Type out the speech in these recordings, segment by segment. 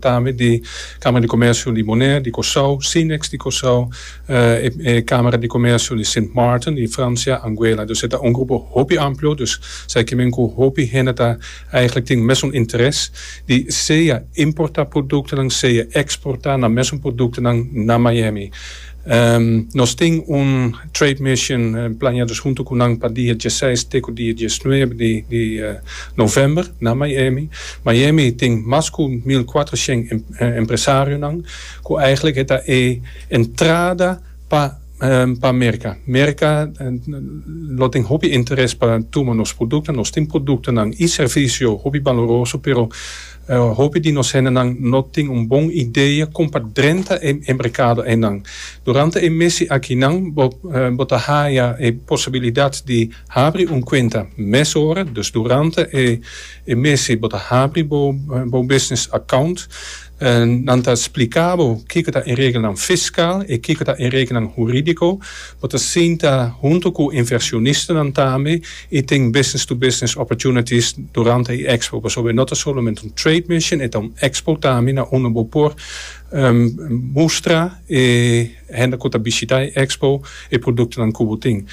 Tambe di Kámara di Komersio di Bonaire, di Kòrsou, Sinex di Kòrsou, e Kámara di Komersio di Sint Maarten, di Fransia, Anguela. Dus e ta un grupo hopi amplio, dus sa ke men ku hopi hende ta eigenlijk tin mesun interes di sea importá produktonan, sea eksportá nan mesun produktonan na Miami. Nos tin un trade mission planeá dus huntu ku nan pa dia dieseis te ku dia diesnuebe di di novèmber na Miami. Miami tin mas ku 1400 empresarionan ku eigenlijk e ta e entrada pa pa Merka. Merka lo tin hopi interes pa tuma nos produktonan. Nos tin produktonan i servisio hopi baloroso pero Hopi di nos hendenan no tin un bon idea kon pa drenta e merkado einan. Durante e mesi akinan bo bo ta haya e posibilidat di habri un kuenta mesora, dus durante e e mesi bo ta habri bo bo business account. Nan ta splika bo kiko ta e regelnan fiskal i kiko ta e regelnan huridiko. Bo ta sinta hunto ku inversionistanan tambe i tin business to business opportunities durante e expo pasobra e no ta solamente un trade mission e ta un expo tambe na unda bo por mustra e hende ku ta bishita e expo e produktonan ku bo tin.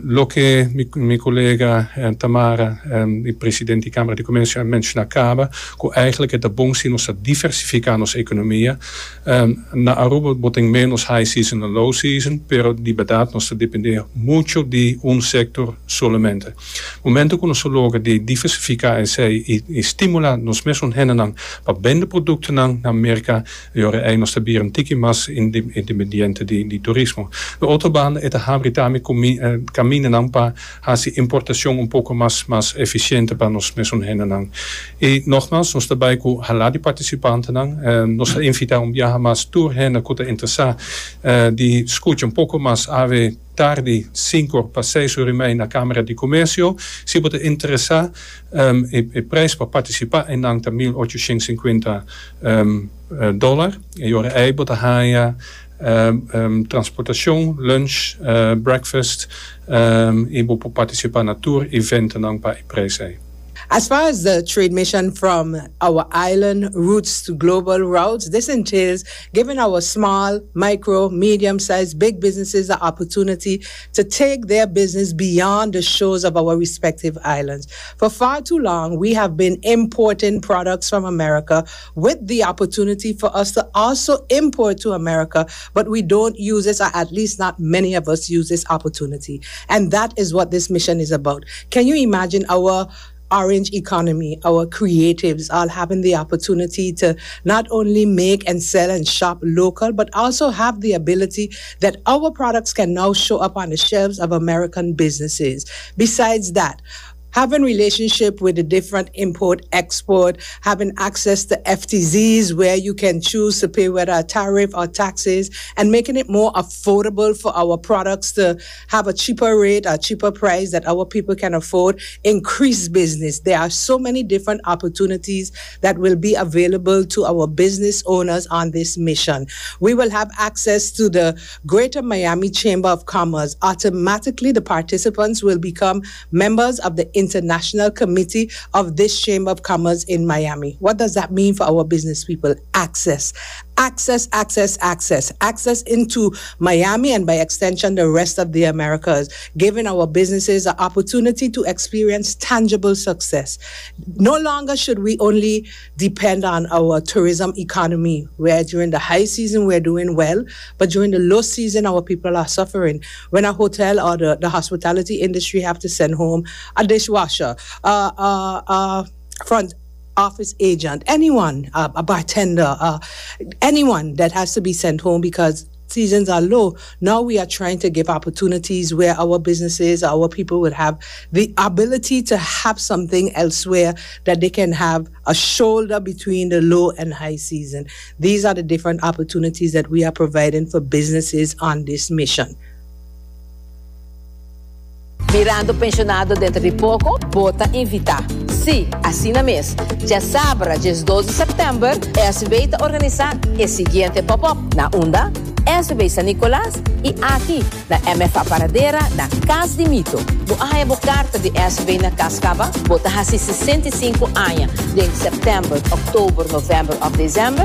Loke mi kolega Tamara di presidente di Kamara di Komersio a menshona kaba ku eigenlijk e ta bon si nos ta diversifiká nos ekonomia. Na Aruba bo tin menos high season dan low season, pero di berdad nos ta depende mucho di un sector solamente. Momento cu nos a logra di diversifica esey y stimula nos mesun hendenan pa bende productonan na Merca, e ora ey nos ta bira un tiki mas independiente di turismo. Di otro banda e ta habri tambe camindanan pa haci importacion un poco mas mas eficiente pa nos mesun hendenan. Y nogmaals nos ta bay cu hala di participantenan. Nos ta invita un biaha mas tur hende cu ta interesa di scucha un poco mas awe tardi cinco or pa seis or y mei na Camara di Comercio. Si bo ta interesa e prijs pa participa eynan ta 1850 dollar. E ora ey bo ta haya Transportacion, lunch, breakfast y bo por participa na tur eventonan pa e prijs ey. As far as the trade mission from our island routes to global routes, this entails giving our small, micro, medium-sized, big businesses the opportunity to take their business beyond the shores of our respective islands. For far too long, we have been importing products from America with the opportunity for us to also import to America, but we don't use this, or at least not many of us use this opportunity. And that is what this mission is about. Can you imagine our orange economy, our creatives all having the opportunity to not only make and sell and shop local, but also have the ability that our products can now show up on the shelves of American businesses. Besides that, having relationship with the different import export having access to FTZs where you can choose to pay whether a tariff or taxes and making it more affordable for our products to have a cheaper rate a cheaper price that our people can afford increase business there are so many different opportunities that will be available to our business owners on this mission we will have access to the Greater Miami Chamber of Commerce automatically the participants will become members of the International Committee of this Chamber of Commerce in Miami. What does that mean for our business people? Access. Access, access, access. Access into Miami and by extension the rest of the Americas, giving our businesses the opportunity to experience tangible success. No longer should we only depend on our tourism economy, where during the high season we're doing well, but during the low season our people are suffering. When a hotel or the, the hospitality industry have to send home a dishwasher, a, a, a front office agent, anyone, a bartender, uh, anyone that has to be sent home because seasons are low. Now we are trying to give opportunities where our businesses, our people would have the ability to have something elsewhere that they can have a shoulder between the low and high season. These are the different opportunities that we are providing for businesses on this mission. Mirando pensionado dentro di poco, bo ta invita. Si, asina mes. Djasabra 12 di september, SB ta organisa e siguiente pop-up. Na unda? SVB San Nicolas y aki na MFA Paradera na Cas di Mito. Bo a haya bo carta di SVB na cas caba? Bo ta haci 65 aña den september, october, november of december?